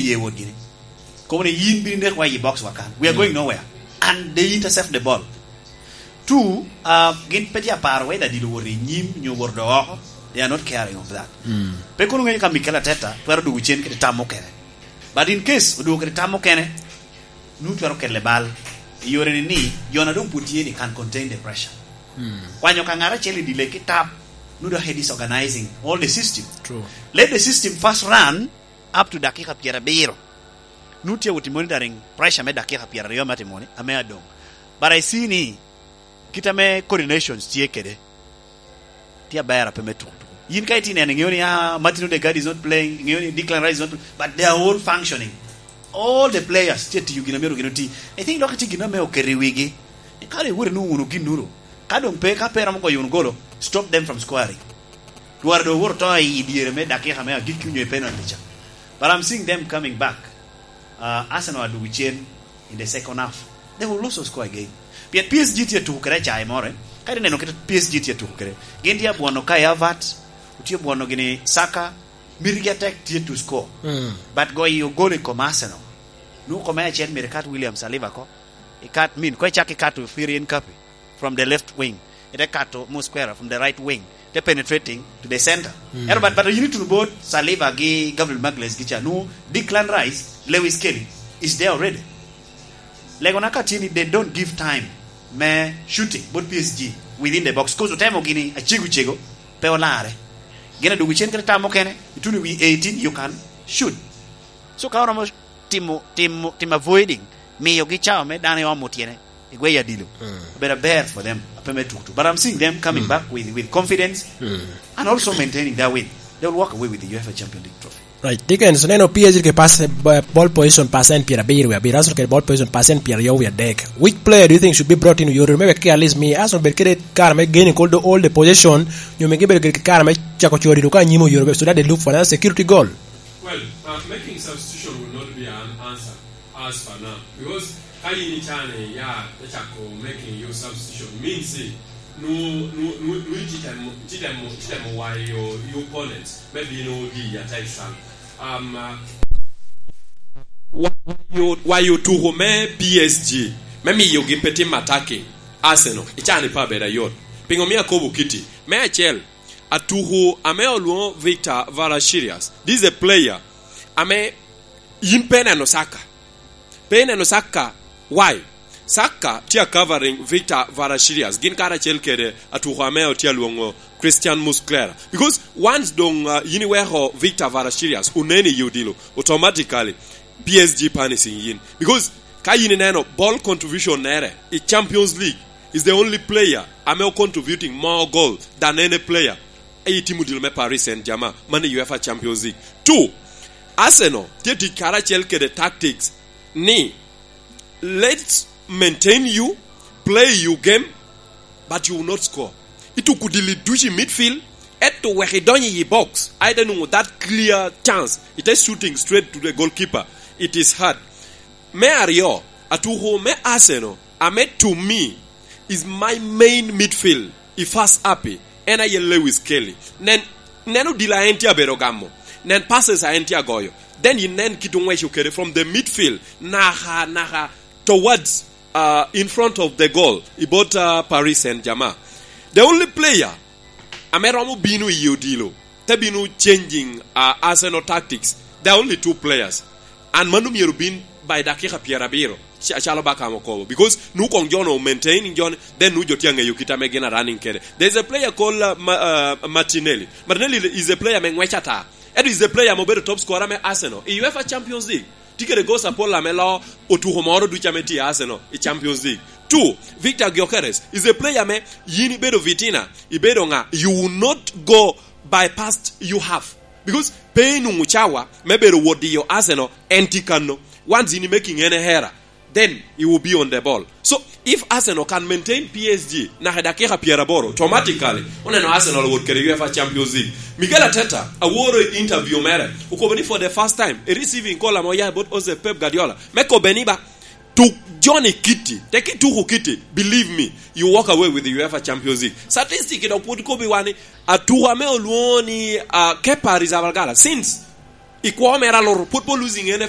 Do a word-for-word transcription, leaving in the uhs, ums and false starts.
ye wot gini. Kobo ni yin bini nek wa i box wa kan. We are going nowhere. And they intercept the ball. Two, uh, gin pe tye aparo whether dilo wot i nyim nyo wot do oko. They are not caring of that. Pe kono ngeyo ka Mikel Arteta twero dugo cen kede tam mukene. But in case odugo kede tam mukene, nu twero kele bal. I yore ni ni, jona dong put tye ni can contain the pressure. Kwanyo ka ngara cheli dile ki tap, nu do head is organizing all the system. True. Let the system first run up to dakika pyerabiro. Nu tye wuti monitoring pressure me dakika pyeraryo me atimoni, ame adong. But I see ni, kit ame coordinations tye kede, tye aber ape me tuko tuko. Yin ka itye neno, iŋeo ni, ah, Martin Odegaard is not playing, iŋeo ni Declan Rice is not playing, but they are all functioning. All the players tye tiyo gin amyero gin oti. I think dok itye gin ame oketo i wigi. Kare iwot inwoŋo wunu ginnuru. Ka doŋ pe, ka pe romo goyo wunu golo, stop them from scoring. Twara doŋ owoto to i dyere me dakika me agikki onyo i penalty ca. But I'm seeing them coming back. Uh, Arsenal adugo cen in the second half. They will also score again. Pien P S G tye tuko kede acai more. Ka ineno kit P S G tye tuko kede, gin tye abwono Kai Havertz, otye abwono gini Saka, mitigi atek tye to score. But goyo gol i kom Arsenal. Nu kome acel myero ikat William Saliba ko. Ikat min, ko icak ikat Firian Kapi from the left wing. Ite kato Mosquera from the right wing. Te penetrating to the center. Ero but, but you need to both Saliba gi Gabriel Magalhaes gi ca. Nu Declan Rice, Lewis Kelly is there already. Lego na ka tye ni they don't give time me shooting both P S G within the box. 'Cause otemo gini acego cego, pe olare. Gin adugo cen kede tam mukene, ituni wi eighteen, you can shoot. So ka oromo timo, timo, timo avoiding, miyogi cawa me dano i omo tyene, i gweyo adilo. Obedo aber for them, ape me tutu. But I'm seeing them coming back with, with confidence and also maintaining their win. They will walk away with the UEFA Champions League trophy. Right. Dickens, neno P S G ke pass, eh, ball position percent pyerabiro wie abiro, Arsenal kede ball position percent pyeraryo wie adek. Which player do you think should be brought in, Yori, maybe ke at least mi Arsenal bed kede kare me gaining all the, all the position, nyo mi gibedo kede kare me cako coro dilo ka anyim oyoro, so that they look for another security goal? Well, uh, making substitution will not be an answer as for now, because ka yin icane ya te cako making your substitution means, eh, nu, nu, nu, nu ititemo, ititemo, ititemo wayo your opponents, maybe no di ya te sal. Um, uh, wa-, wayo, wayo tuko me P S G, me miyo gi pe tim attacking Arsenal, icane pa beda yot. Pingo mi akobo kiti? Me acel, atuku ame olwoŋo Victor Varashirias. This is a player ame yin pe neno Saka. Pe neno Saka. Why? Saka tye a covering Victor Varashirias. Gin karacel kede atuku ame otye alwoŋo Christian Muslera. Because once doŋ, uh, yin iweko Victor Varashirias onen i odilo, automatically P S G punishing yin. Because ka yin ineno ball contribution nere i Champions League, is the only player ame o contributing more goal than any player i tim odilo me Paris Saint-Germain, man i UEFA Champions League. Two, Arsenal tye tic karacel kede tactics ni, let's maintain you, play you game, but you will not score. Ituko dili ducu i midfield, eto wek idony i box, aye ite nwoŋo that clear chance, ite shooting straight to the goalkeeper. It is hard. Me aryo, atuku me Arsenal, ame to me is my main midfield, i first happy, en aye Lewis Kelly. Nen, nen odilo a en tye abedo gamo. Nen passes a en tye agoyo. Then inen kit oŋweco kede from the midfield, naka, naka towards, uh, in front of the goal, i bot, uh, Paris Saint-Germain. The only player ame romo bino i odilo, te bino changing, uh, Arsenal tactics. There are only two players. And mano myero bin by dakika pyerabiro, ca-, calo Bakam okobo. Because nu kong jo no maintain, jo ni, then nu jo tye aŋeyo kit ame gin a running kede. There's a player called, uh, Ma-, uh, Martinelli. Martinelli is a player me ŋwec ata. Eto is a player ame obedo top scorer me Arsenal i UEFA Champions League. Tye kede goals apol ame lo otuko moro ducu ame tye i Arsenal i Champions League. Two, Victor Gyökeres is a player ame yin ibedo Vitina, ibedo ŋa, you will not go by past you have. Because pe inwoŋo cawa me bedo wot diyo Arsenal, en tye kano. Once in making any error, then you will be on the ball. So, if Arsenal can maintain P S G naka dakika pyeraboro, automatically, oneno Arsenal wot kede UEFA Champions League. Mikel Arteta, aworo i interview mere, okobo ni for the first time, a receiving call ame oya bot Jose Pep Guardiola, me kobe ni ba, tuk joni kiti, te kituko kiti, believe me, you walk away with the UEFA Champions League. Statistic dok pwod kobi wa ni, atuko ame olwoŋo ni, uh, Kepa Arrizabalaga, since i kwo mere aloro, pwod po losing ene